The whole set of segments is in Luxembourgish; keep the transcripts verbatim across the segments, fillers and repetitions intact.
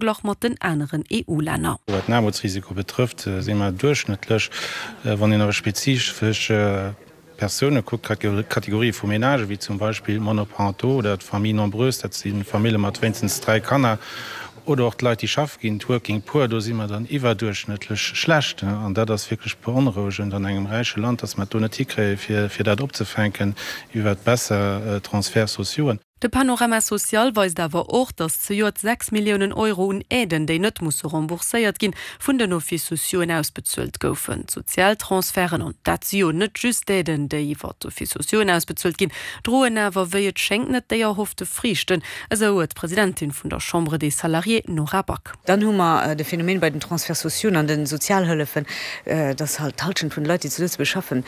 Verglach mat den aneren EU-Länner. Wat den Aarmutsrisiko betrëfft, si mer duerchschnëttlech, wann een awer spezifesch Persoune kuckt, Kategorië vu Menagë wéi zum Beispill d'Monoparentaux oder d'Familles nombreuses, dat si Famille mat wéinstens dräi Kanner, oder och d'Leit, déi schaffe ginn, d'Working Poor, do si mer dann iwwerduerchschnëttlech schlecht. An dat ass wierklech beonrouegend an engem räiche Land, dass mer et do net hikréie fir dat opzefänken iwwert besser Transferts sociauxen. De Panorama social weist awer och, datt zejoert sechs Milliounen Euro un Aiden, déi net musse rembourséiert ginn, vun den Offices sociauxen ausbezuelt goufen. D'Sozialtransferten, an dat si jo net just d'Aiden, déi iwwer d'Offices sociauxen ausbezuelt ginn, droen awer wéi et schéngt net déi erhoffte Friichten, esou d'Presidentin vun der Chambre des Salariés Nora Back. Dann hu mer de Phänomen bei den Transferts sociaux an de Sozialhëllefen, datt halt d'Hallschent vun de Leit, déi zu Lëtzebuerg schaffen,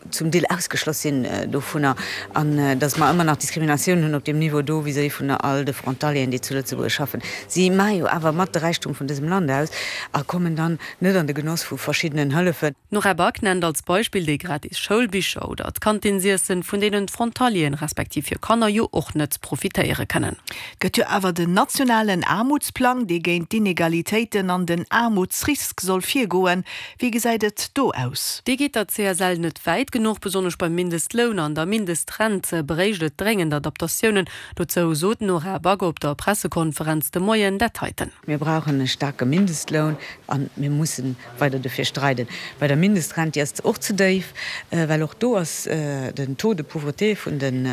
zum Deel ausgeschloss sinn dovunner an datt mer ëmmer nach Diskriminatioun hunn op deem Niveau do vis-à-vis vun all de Frontalieren, déi zu Lëtzebuerg schaffen. Si maache jo awer mat de Räichtum vun dësem Land aus a kommen dann net an de Genoss vu verschiddenen Hëllefen. D'Nora Back nennt als Beispill déi gratis Schoulbicher oder d'Kantinsiessen, vun deenen d'Frontalieren, respektiv hir Kanner jo och net profitéiere kënnen. Et gëtt jo awer den nationalen Aarmutsplang, dee géint d'Inegalitéiten an den Aarmutsrisk soll virgoen. Wéi gesäit et do aus? Dee geet der C S L net wäit genuch. Besonnesch beim Mindestloun an der Mindestrent bréicht et dréngend Adaptatiounen. Dozou sot d'Nora Back op der Pressekonferenz de Moien dat heiten. Mir brauchen e staarke Mindestloun a mir musse weider dofir streiden. Bei der Mindestrent, déi ass och ze déif, well och do ass den Taux de pauvreté vun de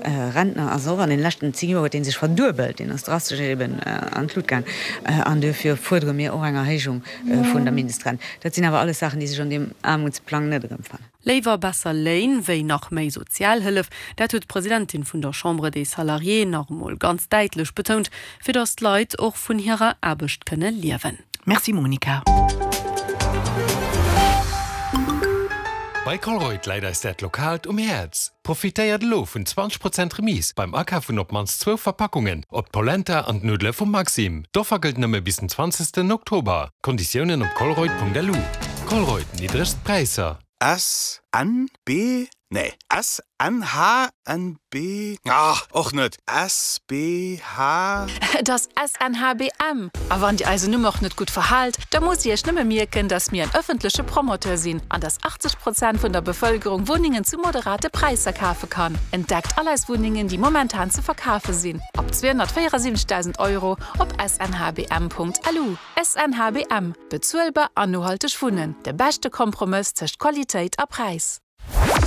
Rentner ass och an den leschten zéng Joer huet dee sech verduebelt, deen ass drastesch eben an d'Lut gaang an dofir fuerdere mir och eng Erhéijung vun der Mindestrent. Dat sinn awer alles Saachen, déi sech an deem Aarmutsplang net erëmfannen. Léiwer besser Léin wéi nach méi Sozialhëllef, dat huet d'Presidentin vun der Chambre des Salariés nach emol ganz däitlech betount, fir datt d'Leit och vun hirer Aarbecht kënne liewen. Merci Monica. Bei Colruyt läit eis dat Lokaalt um Häerz. Profitéiert elo vun zwanzeg Prozent Remise beim Akaf vun op d'mannst zwou Verpackungen op d'Polenta an d'Nuddele vum Maxim. D'Offer gëllt nëmme bis den zwanzegsten Oktober. Konditiounen op colruyt Punkt L U. Colruyt, niddregst Präisser. S, N, B, nee, S, N, H, N, B, ah, och net, S, B, H. Et ass S N H B M. A wann Dir eisen Numm och net gutt verhaalt, da musst Dir Iech nëmme mierken, dass mir en ëffentleche Promoteur sinn an dass achtzeg Prozent vun der Bevëlkerung Wunnengen zu moderate Präisser kafe kann. Entdeckt all eis Wunnengen, déi momentan ze verkafe sinn, ab zweehonnertvéierasiwwenzegdausend Euro op S N H B M Punkt L U. S N H B M, Bezuelbar an nohalteg Wunnen, de beschte Kompromëss tëscht Qualitéit a Präis.